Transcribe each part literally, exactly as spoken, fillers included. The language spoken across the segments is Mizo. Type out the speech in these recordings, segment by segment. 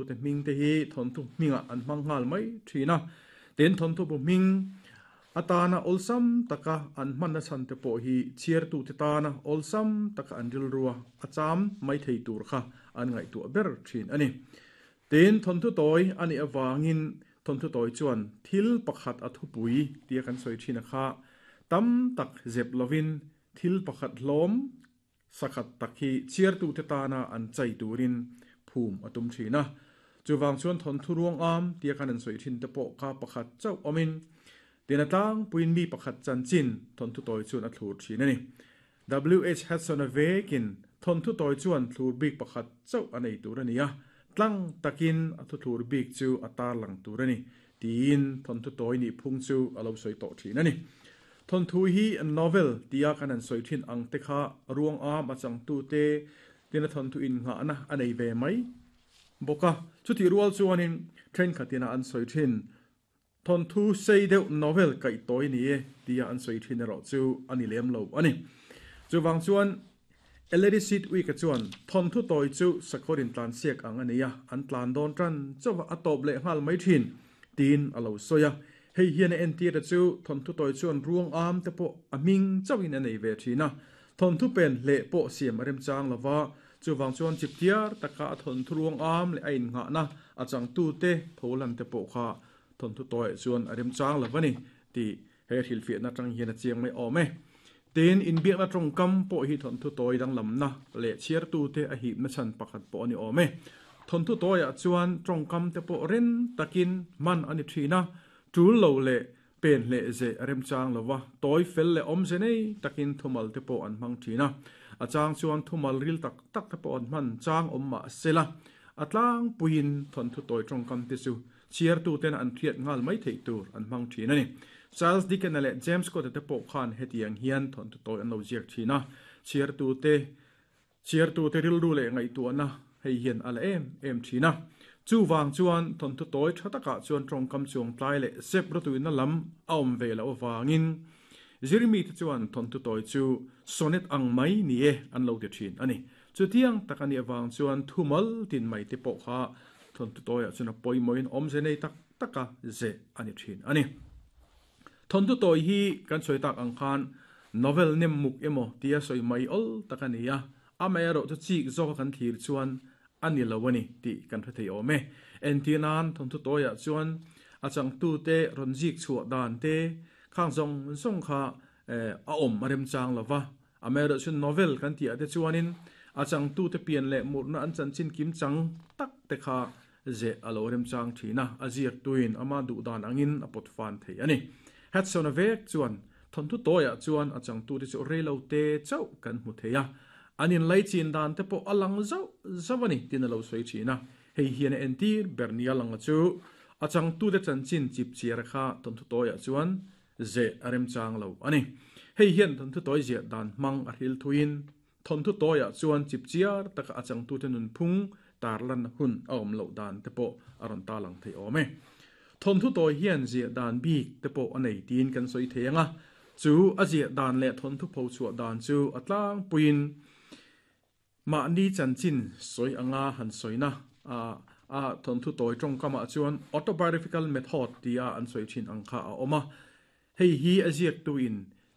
tu te hming te hi thawnthu hmingah an hmang nghal mai thin a. Tin, thawnthu bu hming atana awlsam taka an hmanna chhan te pawh hi chhiartu te tana awlsam taka an rilrua a cham mai thei tur kha an ngaihtuah ber thin a ni. Tin, thawnthu tawi a nih avangin thawnthu tawi chuan thil pakhat a thupui tia kan sawi thin a kha tam tak zep lovin thil pakhat hlawm sakhat tak hi chhiartu te tana an chai turin phum a tum thin a. Chuwang chuan thawnthu ruang am tia kan an sawi thin te pawh kha pakhat chauh awmin tin a tlang puiin mi pakhat chanchin thawnthu tawi chuan a thlur thin a ni. W H Hudson a vekin thawnthu tawi chuan thlur bik pakhat chauh a nei tur a ni a, tlang takin a thu thlur bik chu a tar lang tur a ni tiin thawnthu tawi nih phung chu a lo sawi tawh thin a ni. Thawnthu hi novel tia kan an sawi thin ang te kha ruang am a changtu te tin a thawnthu in nghahna a nei ve mai bawk a. Chuti rual chuanin thenkhatina an sawi thin thawnthu sei deuh novel kaih tawi ni e tia an sawi thin erawh chu a ni lem lo a ni. Chuwang chuan Ellery Sidwick a chuan thawnthu tawi chu sakawrin tlan siak ang a nei a, an tlan dawn tan chawa a tawp leh nghal mai thin tiin a lo sawi a. Hei hian a entir te chu thawnthu tawi chuan ruang am te pawh a hming chauhin a nei ve thin a, thawnthu pen hleh pawh siam a remchang lova. Chuwang chuan chiptiar taka a thawnthu ruang am leh a innghahna a changtu te pholan te pawh kha thawnthu tawi chuan a remchang lova ni ti he hrilhfiahna tang hian a chiang mai awm e. Tin, inbiakna tawngkam pawh hi thawnthu tawi danglamna leh chhiartu te a hipna chhan pakhat pawh a ni awm e. Thawnthu tawiah chuan tawngkam te pawh ren takin man a ni thin a, tul lo leh pen hleh ze a remchang lova, tawi fel leh awm ze nei takin thumal te pawh an hmang thin a. A chang chuan thumal ril tak tak te pawh an hman chang awm mah sela, a tlang puiin thawnthu tawi tawngkam te chu chhiartu ten an hriat nghal mai theih tur an hmang thin a ni. Charles Dickens leh James Scott te pawh khan hetiang hian thawnthu tawi an lo ziak thin a, chhiartu te chhiartu te rilru leh ngaihtuahna hei hian a la em em thin a. Chuwang chuan thawnthu tawi tha takah chuan tawngkam chuang tlai leh sep ratuina lam a awm ve lo awangin zirmi te chuan thawnthu tawi chu sonnet ang mai ni e an lo ti thin a ni. Chutiang takani awang chuan thumal tin mai te pawh kha thawnthu tawiah chuan a pawimawhin awm ze nei tak taka ze a ni thin a ni. Thawnthu tawi hi kan sawi tak ang khan novel nem muk emaw tia sawi mai awl tak a ni a, amaherawh chu chik zawk kan thlir chuan a ni lo a ni tih kan hre thei awm e. Entinan thawnthu tawiah chuan a changtu te rawn zik chhuah dan te khang zawng zawng kha a awm a remchang lova, amaherawh chu novel kan tih ah te chuanin a changtu te pian leh murna an chanchin kim chang tak te kha ze a lo remchang thin a, a ziak tuin ama duh dan angin a pawt fan thei a ni. Hudson a vek chuan thawnthu tawiah chuan a changtu te chu reilo te chauh kan hmu thei a, an in lai chin dan te pawh a lang zauh zauh a ni tin a lo sawi thin a. Hei hian a entir ber nia lang a chu a changtu te chanchin chip chiar kha thawnthu tawiah chuan ze a remchang lo a ni. Hei hian thawnthu tawi ziah dan hmang a hril thuin thawnthu tawiah chuan chip chiar taka a changtu te nun phung tarlan hun a awm loh dan te pawh a rawn ta lang thei awm e. Thawnthu tawi hian ziah dan bik te pawh a nei tiin kan sawi thei anga, chu a ziah dan leh thawnthu pho chhuah dan chu a tlang puiin mahni chanchin sawi anga han sawina a a thawnthu tawi tawngkamah chuan autobiographical method tia an sawi thin ang kha a awm a. Hei hi a ziak tuin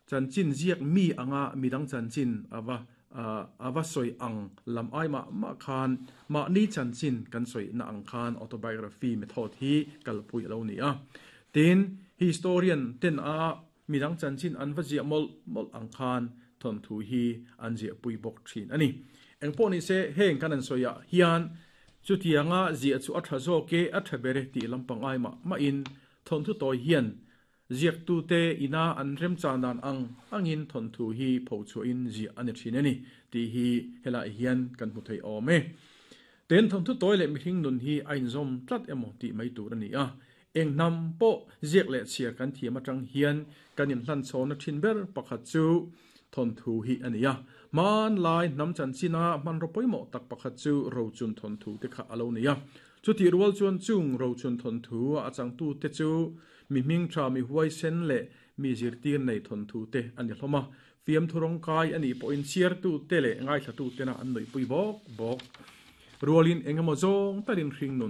chanchin ziak mi anga midang chanchin awa awa sawi ang lam ai ma ma khan mahni chanchin kan sawi na ang khan autobiography method hi kalpui lo ni a. Tin, historian ten a midang chanchin an va ziah mol mol ang khan thawnthu hi an ziah pui bawk thin a ni. Engpawh ni se heng kan an sawi ah hian chutianga ziah chu a tha zawk ke a tha bere tih lampang ai ma ma in thawnthu tawi hian ziak tu te ina an remchan dan ang angin thawnthu hi pho chhuahin ziah a ni thin a ni tih hi helai hian kan hmu thei awm e. Ten thawnthu tawi leh mihring nun hi a inzawm tlat emaw tih mai tur a ni a. Eng hnam pawh ziak leh chhiar kan thiam atang hian kan inhlan chhawna thin ber pakhat chu thawnthu hi a ni a. Man lai hnam chanchina hmanraw pawimawh tak pakhat chu rochun thawnthu te kha a lo ni a. Chuti rual chuan chung rochun thawnthu a changtu te chu mi hming tha mi huai sen leh mi zirtir nei thawnthu te a ni hlawm a. Fiam thurong kai ani pawhin chhiartu te leh ngaithlatu tena an nuih pui bawk bawk. Rualin engemaw zawng tarin hring nun